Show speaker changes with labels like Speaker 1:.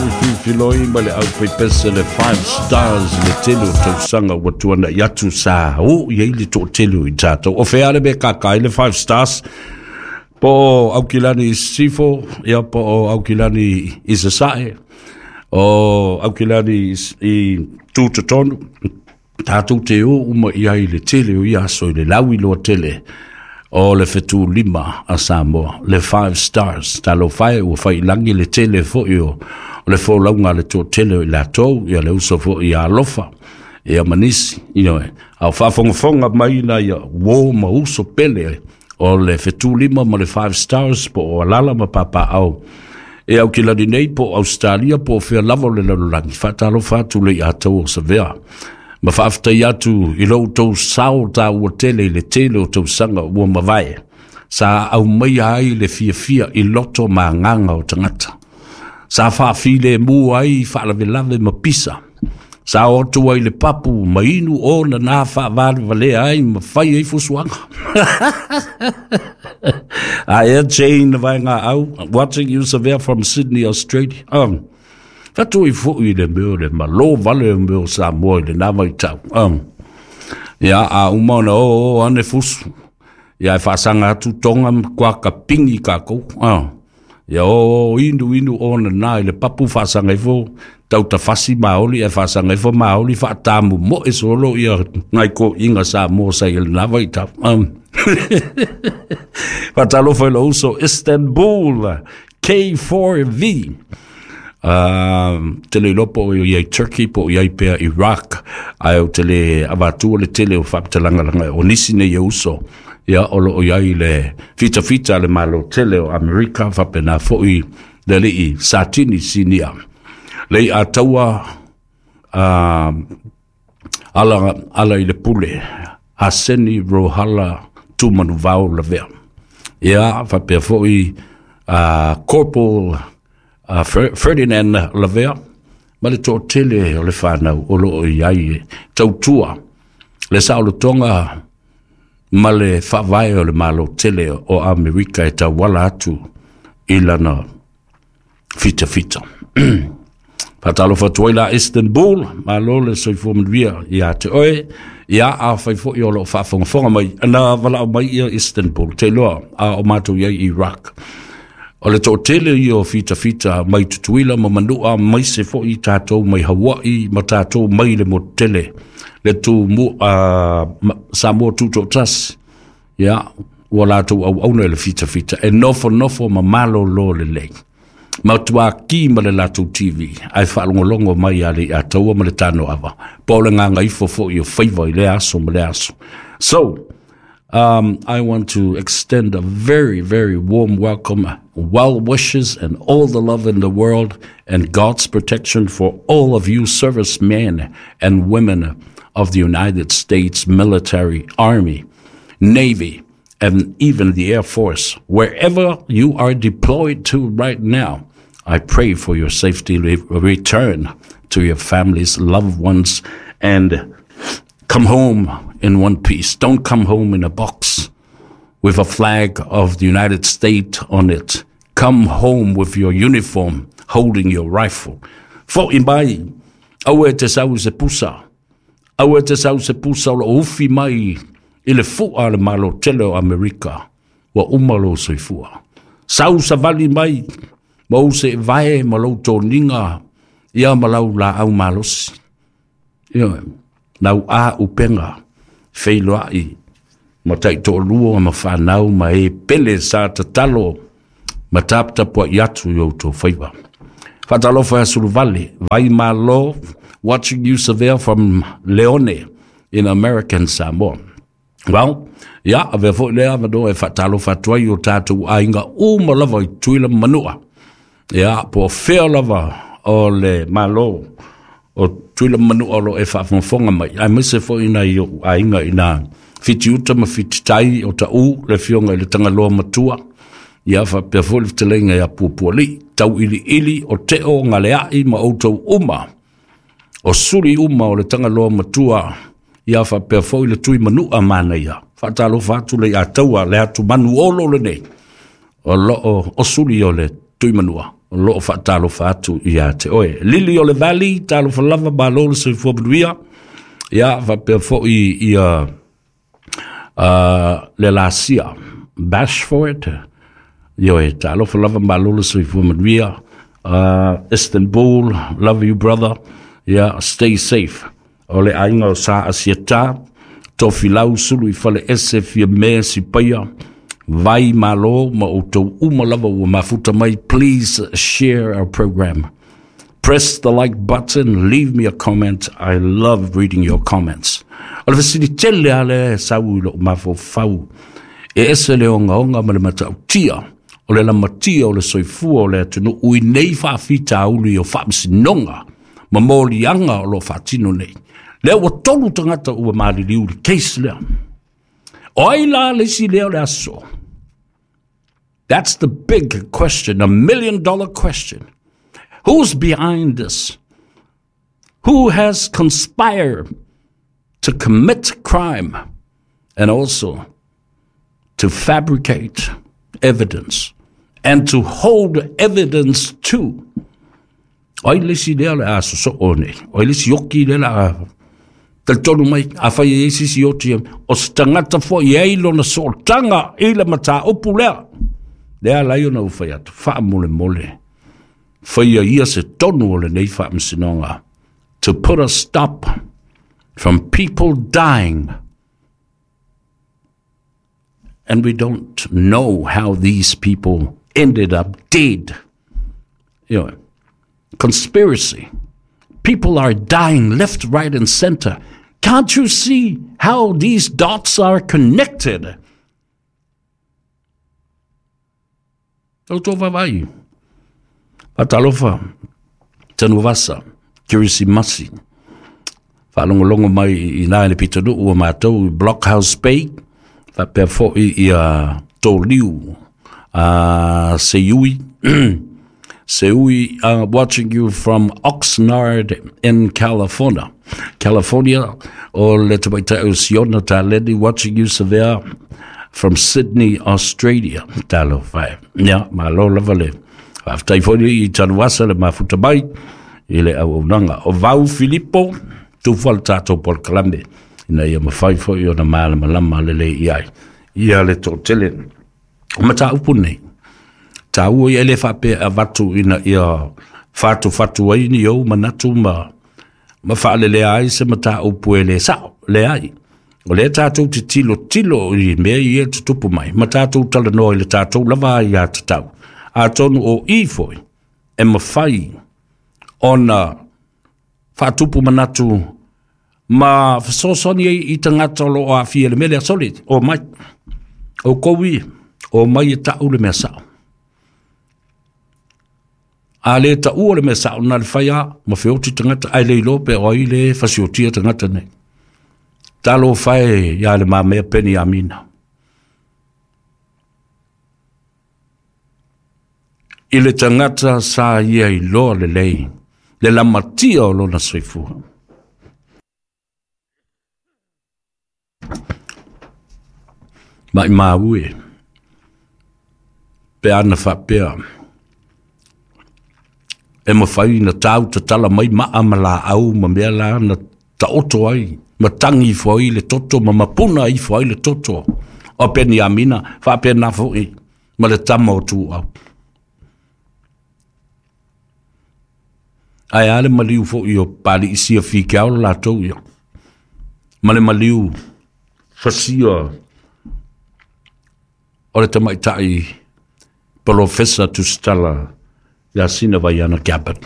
Speaker 1: Sui Filifiloi ma le aufaipese le Five Stars i le tele o tausaga ua tuana'i atu sa oo i ai le toatele o i tatou. O fea le mea kaka ai le Five Stars? Po o Aukilani i Sisifo, ia po o Aukilani i Sasae, o Aukilani i Tutotonu, tatou te o uma i ai i le tele o ia aso i le lauiloa tele o le fetulima a Samoa, le Five Stars. Talofa e, ua faiilagi le tele foi o le folauga a le toatele o i latou, ia le uso foi ia Alofa, ia ma nisi, ioe. A o faafogafoga mai nai uo ma uso pele o le fetulima ma le Five Stars po o Alala ma Papaau e Aukilani nei po o Ausetalia po o fea lava o le lalolagi, faatalofa atu le ia tau o Savea ma faafetai atu i lo outou sao taua tele i le tele o tausaga ua mavae sa aumaia ai le fiafia i loto ma agaga o tagata, sa faafilemu ai faalavelave ma pisa, sa o atu ai le papu ma inu ona na faavalevalea ai ma fai ai fusuaga. Aia Jane Vaenga au, watching you, Savea, from Sydney, Australia. Fatui foi le mea o le malo vale o mea o Samoa i le nā vaitau. Ia, a uma ona o o ane fusu. Ia e faasaga atu toga ma kuaka pingi kākou. Ia o o inu inu ona nā i le papu faasaga ifo tautafasi maoli e faasaga ifo maoli faatamu moe solo ia ngai ko inga Samoa sa i le nā vaitau. Faatalofa i lou uso Istanbul K4V. Te le iloa po o i ai Turkey po o i ai pea Iraq, ae o te le avatua le tele o faamatalagalanga o nisi nei e uso ia o loo i ai le fitafita a le Malo tele o Amerika, faapena foi le alii Satini Sinia le ia taua ala, ala i le pule Haseni Rohala Tumanuvao Lavea, ia faapea foi Corporal Ferdinand Lavea ma le toatele o le whanau o loo i ai tautua le saolotoga ma le faavae o le Malo tele o Amerika e tauala atu i lana fitafita. Faatalofa atu ai la Istanbul, malo le soifua manuia ia te oe, ia afai foi o loo faafogafoga mai, na valaau mai ia Istanbul, te iloa a o matou i ai Iraq. O le toatele ia o fitafita mai Tutuila ma Manua, mai se foi tatou mai Hawaii ma tatou mai le motu tele, le tu mu, Samoa tutoatasi, ia, ua latou auauna i le fitafita, e nofo nofo ma malolo lelei. Matua ki ma le latou TV, ae faalogologo mai a le ia taua ma le tano ava. Po o le gagaifo foi o faiva i le aso ma le aso. So, I want to extend a very, very warm welcome, well wishes, and all the love in the world and God's protection for all of you servicemen and women of the United States military, Army, Navy, and even the Air Force. Wherever you are deployed to right now, I pray for your safety return to your families, loved ones, and come home in one piece. Don't come home in a box with a flag of the United States on it. Come home with your uniform, holding your rifle. Fo'i mai, aua e te sau se pusa. Aua e te sau se pusa o lo ufi mai i le fua le Malo tele o Amerika. Ua uma lo soifua. Sau savali mai, ma ou se vae ma lou toniga, ia ma lau la au malosi. Ia, lau a upenga, feiloai, ma taitoalua ma whanau ma e pele sa tatalo ma taputapu ai atu i outou faiva. Faatalofa ia Suluvale, vai malo, watching you, Savea, from Leone in American Samoa. Well, ia, avea foi lea avanoa e faatalofa atu ai o tatou aiga uma lava i Tutuila ma Manua. Ia, po o fea lava o le Malo o Tutuila ma Manua o lo e faafogafoga mai. Aemaise foi nai ou aiga i nā Fitiuta ma Fititai o Taʻu, le afioga i le Tagaloa Matua. Ia faapea foi le fetalaiga ia Puapualii, Tauiliili o Teo Galeai ma outou uma. O suli uma o le Tagaloa Matua, ia faapea foi le Tui Manua manaia. Faatalofa atu le ia taua le atu manu olo lenei. O loo o suli o le Tui Manua. O loo faatalofa atu ia te oe. Lili o le Valley, talofa lava, malo le soifua manuia. Ia, faapea foi ia le Lasia Bashford, ioe, talofa lava, malo le soifua manuia. Istanbul, love you brother. Yeah, stay safe. O le aiga o Sa Asiata, Tofilau Sulu i Fale Ese Fia Mea Sipaia, vai malo ma outou uma lava ua mafuta mai. Please share our program. Press the like button, leave me a comment. I love reading your comments. O le fesili tele a le sau i lou mafaufau, e ese le ogaoga ma le matautia o le lamatia o le soifua o le atunuu i nei faafitauli o faamasinoga ma moliaga o loo faatino nei. Lea ua 3 tagata ua maliliu i le case lea. O ai la le isi lea o le aso? That's the big question, $1 million question. Who's behind this? Who has conspired to commit crime and also to fabricate evidence and to hold evidence too? O ai le isi lea o le a sosoo nei? O ai le isi oki lea la a talitonu mai a fai e isi isi oti o se tagata foi e ai lona sootaga i le mataupu lea? Lea lai ona ua fai atu, faamolemole, faia ia se tonu o lenei faamasinoga to put a stop from people dying, and we don't know how these people ended up dead. Conspiracy. People are dying left, right, and center. Can't you see how these dots are connected? O tō vavai. Fatalofa, Tanuvasa, Kirisimasi. Whaalongolongo mai i nā le pitanu ua mātou i Blockhouse Bay, whapea foi ia tō liu, Seui, Seui, watching you from Oxnard in California. California, o le tamaitai o Siona Taleni, watching you Savea from Sydney, Australia. Talo whae. Ia, malo lava le. Faafetai foi i Tanuvasa le mafuta mai i le auaunaga. O Vau Filipo, tufa le tatou polokalame, ina ia mafai foi ona malamalama lelei i ai ia le toatele. O mataupu nei, taua ia e le faapea avatu ina ia fatufatu ai ni ou manatu ma faalelea ai se mataupu e le sao, leai. O lea tatou te tilotilo i mea ia tutupu mai, ma tatou talanoa i le tatou lava ia tatau. Atonu o i foi, e mafai ona faatupu manatu ma fesoasoani ai i tagata o lo o aafia i le mea lea. Sole, o mai. O kou ia, o mai e tau le mea sao. A le taua le mea sao na le fai a, ma feoti tagata, ai le iloa pe o ai le fasiotia tagata nei. Talo fae ia le mamea Peni Amina. I le tagata sa ia iloa lelei, le lamatia o lona soifua. Mai maue, pe ana faapea, e mafai na tau tatala mai maa ma laau ma mea la na taoto ai, ma tangi ifo ai le toto, ma mapuna ifo ai le toto o Peniamina, faapena foi ma le tama o Tuau. Ae a le maliu foi o Paliisia Fikeao le latou ia, ma le maliu fasia o le tamaitai Polofesa Tusitala ia Sina Vaiana Gabbard.